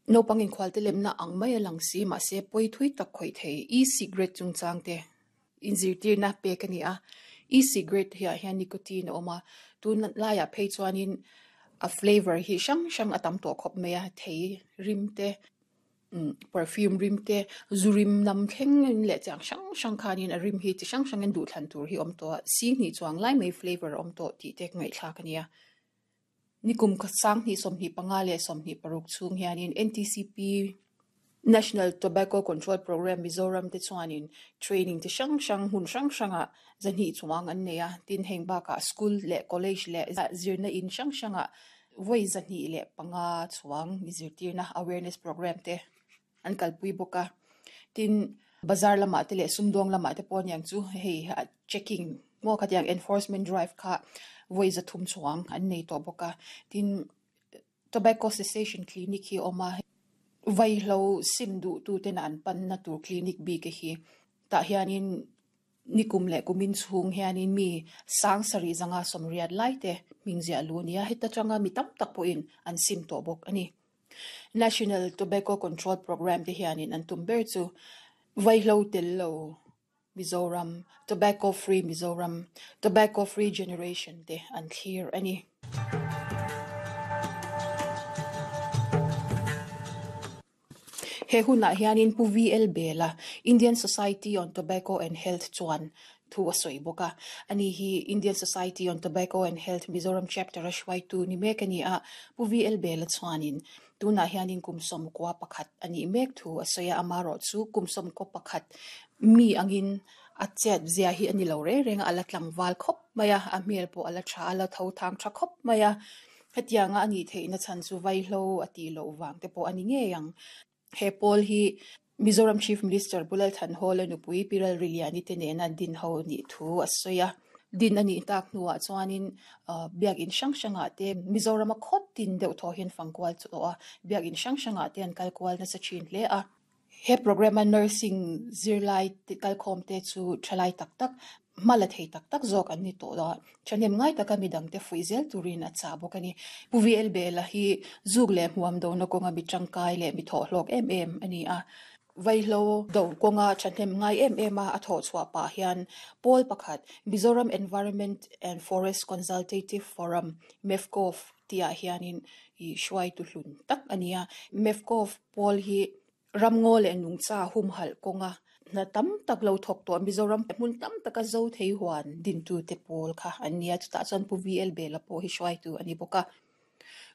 Naupang inkhualtelemna ang mai a lang si, mahse pawi thui tak khawih thei e-cigarette chungchang te inzirtirna pek a ni a. E-cigarette hi ah hian nicotine a awm a, tun laiah phei chuanin a flavour hi hrang hrang a tam tawh khawp mai a, thei rim te umm perfume rim te zu rim nam thleng in leh chiang hrang hrang khanin a rim hi chi hrang hrangin duhthlan tur hi a awm tawh a, sihnih chuang lai mai flavour a awm tawh tih te ngaihthlak a ni a. Nikum 20 25 leh 26 chhung hianin NTCP, National Tobacco Control Programme, Mizoram te chuanin training chi hrang hrang hmun hrang hrangah zahnih chuang an nei a, tin heng bakah school leh college leh zirna in hrang hrangah vawi 205 chuang zirtirna awareness programme te an kalpui bawk a. Tin, bazar lamah te leh sumdawng lamah te pawh aniang chu hei checking maw khatiang enforcement drive kha vawi 300 chuang an nei tawh bawk a. Tin, tobacco cessation clinic hi a awm a, vaihlo sim duh tu tena an panna tur clinic bik a hi. Tah hianin nikum leh kumin chhung hianin mi 7580 lai te hming ziah lu a ni a, heta tanga mi tam tak pawhin an sim tawh bawk a ni. National Tobacco Control Programme te hianin an tum ber chu vaihlo tel lo Mizoram, Tobacco Free Mizoram, Tobacco Free Generation te an thlir a ni. He hunah hianin Pu VL Bela, Indian Society on Tobacco and Health chuan thu a sawi bawk a. Ani hi Indian Society on Tobacco and Health Mizoram Chapter a hruaitu ni mek a ni a, Pu VL Bela chuanin tunah hianin kum 11 a nih mek thu a sawi a, amaherawh chu kum 11 mi angin a chet zia hi a ni lo reng reng a, a la tlangval khawp mai a, a hmel pawh a la tha a, a la tho thang tha khawp mai a. Hetianga a nih theihna chhan chu vaihlo a tih loh vang te pawh a ni ngei ang. He pawl hi Mizoram Chief Minister Pu Lalthanhawla nupui Pi Ralriliani te nena din ho nih thu a sawi a. Din a nih tak hnuah chuanin biakinn hrang hrangah te Mizorama khaw tin deuh thaw hian fang kual chu tawh a, biakinn hrang hrangah te an kal kual nasa thin hle a. He programme a nursing zirlai kalkhawm te chu thalai tak tak, hma la thei tak tak zawk an ni tawh a, thahnem ngai taka midangte fuih zel turin a chah bawk a ni. Pu VL Bela hi zuk leh hmuam dona kawnga mi tangkai leh mi thawhhlawk em em a ni a. Vaihlo do kawnga thahnem ngai em em a a thawh chhuah pah hian pawl pakhat Mizoram Environment and Forest Consultative Forum, MEFCOF, tihah hianin i hruaitu hlun tak a ni a. MEFCOF pawl hi Ramngaw leh nungcha humhalh kawnga hna tam tak lo thawk tawh Mizoram hmun tam taka zo thei huan dintute pawl kha an ni a, chutah chuan Pu VL Bela pawh hi hruaitu a ni bawk a.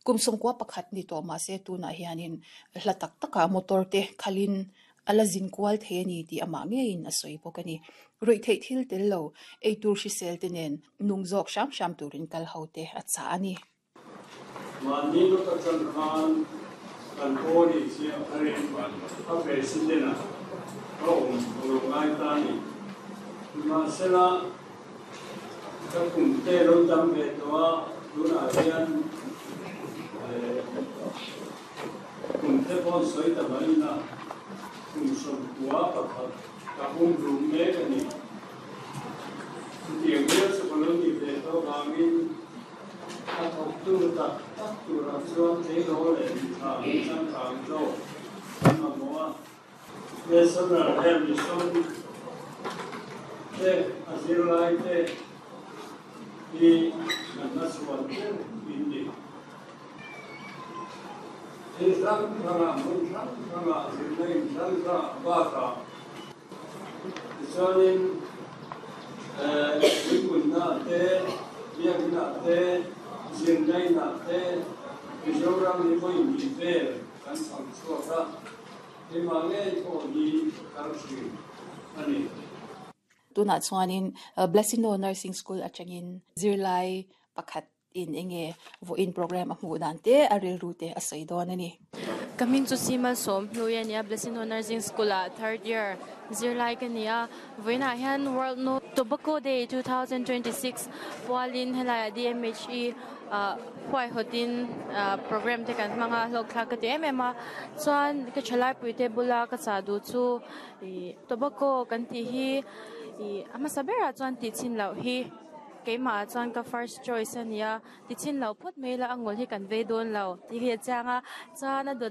Kum 91 ni tawh mahse tunah hianin hla tak takah motor te khalin a la zin kual thei a ni tih amah ngeiin a sawi bawk a ni. Ruihtheih thil tel lo, eitur hrisel te nen nung zawk hram hram turin kal ho te a chah a ni. Mahni lawk atang khan kan pawl inziah tharin a President ah ka awm ka lo ngai ta a ni. Nimahsela, ka kum te lo tam ve tawh a, tunah hian kum te pawh sawi ta mai ila, kum 91 ka pum rum mek a ni. Chutiang viau chu ka lo ni ve tawh vangin, A thawktu tak tak turah chuan tleirawl leh mitha an changkang zawk an mamawh a. National Health Mission te a zirlai te hi kan la chhuan ber in ni. Thil hrang hrangah hmun hrang hrangah zirna in hrang hrangah bakah Tichuanin puipunnaah te, biakinah te, zirnainah te Mizoram hi vawi hnih vel kan chhang chhuak a, keimah ngei pawh hi kal thin a ni. Tunah chuanin Blessino Nursing School atangin zirlai pakhat In enge vawiin program a hmuh dan te a rilru te a sawi dawn a ni. Ka hming chu Simal Sawmhlui a ni a, Blessing Ho Nursing School ah third year zirlai ka ni a. Vawiinah hian World No Tobacco Day 2026 pualin helaiah DMHE ah huaihawtin program te kan hmang a, hlawkthlak ka ti em em a. Chuan ka thalaipui te bula ka chah duh chu ih tobacco kan tih hi ih a hmasa berah chuan tih chhin loh hi. Keimah ah chuan ka first choice a nia, ti chin lo phawt mai ila a ngul hi kan vei dawn lo tih hi a chiang a, chuan a dawt.